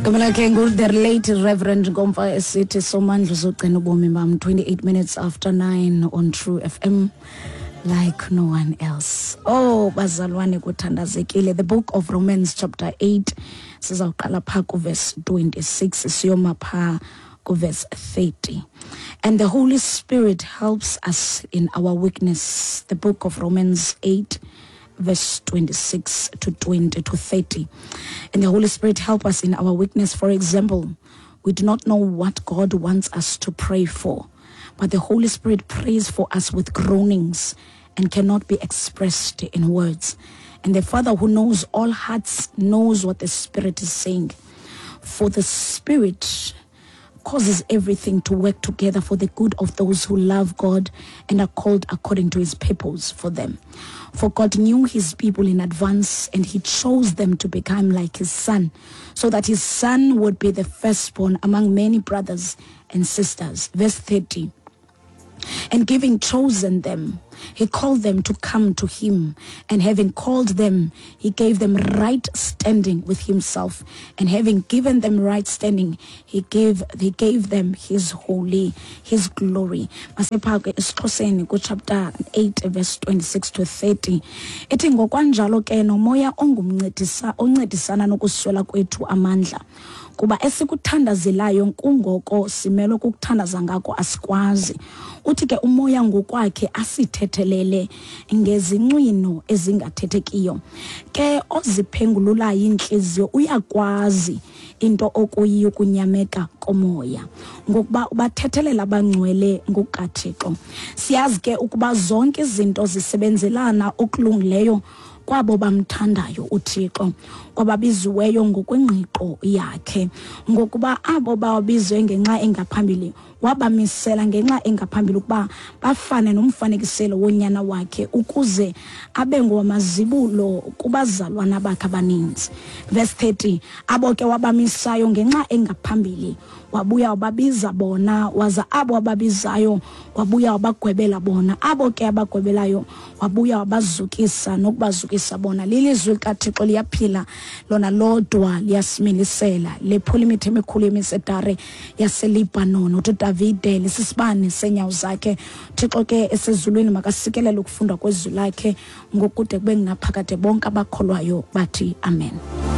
Igama lakhe ngu-the late Reverend Nkomfa esithi Somandla uzogcina ubomi bam. 28 minutes after 9 on True FM, like no one else. Oh bazalwane, kuthandazekile. The Book of Romans chapter 8, sizawuqala phaa kuverse 26 siyoma phaa kuverse 30. And the Holy Spirit helps us in our weakness. The Book of Romans 8 verse 26 to 20 to 30. And the Holy Spirit help us in our weakness. For example, we do not know what God wants us to pray for, but the Holy Spirit prays for us with groanings and cannot be expressed in words. And the Father who knows all hearts knows what the Spirit is saying. For the Spirit causes everything to work together for the good of those who love God and are called according to his purpose for them. For God knew his people in advance, and he chose them to become like his son, so that his son would be the firstborn among many brothers and sisters. Verse 30. And giving chosen them, he called them to come to him. And having called them, he gave them right standing with himself. And having given them right standing, he gave them his holy, his glory. Masepha ke esiXhoseni kuchapter 8 verse 26 to 30. Ithi ngokwanjalo ke nomoya ongumncedisa oncedisana nokuswela kwethu amandla. Kuba esikuthandazelayo kungoko simelwe kukuthandaza ngako asikwazi. Uthi ke umoya ngokwakhe asithethelele ngezincwino ezingathethekiyo. Ke oziphengululayo iintliziyo uyakwazi into okuyiyo ukunyameka komoya, ngokuba ubathethelela abangcwele ngokukaThixo. Siyazi ke ukuba zonke izinto zisebenzelana okulungileyo kwabo bamthandayo uThixo, kwababiziweyo ngokwengqiqo yakhe. Ngokuba abo bawabizwe ngenxa engaphambili wabamisela ngenxa engaphambili ukuba bafane nomfanekiselo wonyana wakhe, ukuze abe ngowamazibulo kubazalwana bakhe abaninzi. Verse 30. Abo ke wabamisayo ngenxa engaphambili wabuya wababiza bona, waza abo wababizayo wabuya wabagwebela bona, abo ke abagwebelayo wabuya wabazukisa nokubazukisa bona. Lilizwi likaThixo, liyaphila lona lodwa, liyasimilisela, lephula imithi emikhulu yemisedare yaseLibhanon. Uthi uDavide lisisibane seenyawo zakhe. Thixo ke esezulwini makasikelele ukufundwa kwezwi lakhe ngokude kube ngunaphakade. Bonke abakholwayo bathi amen.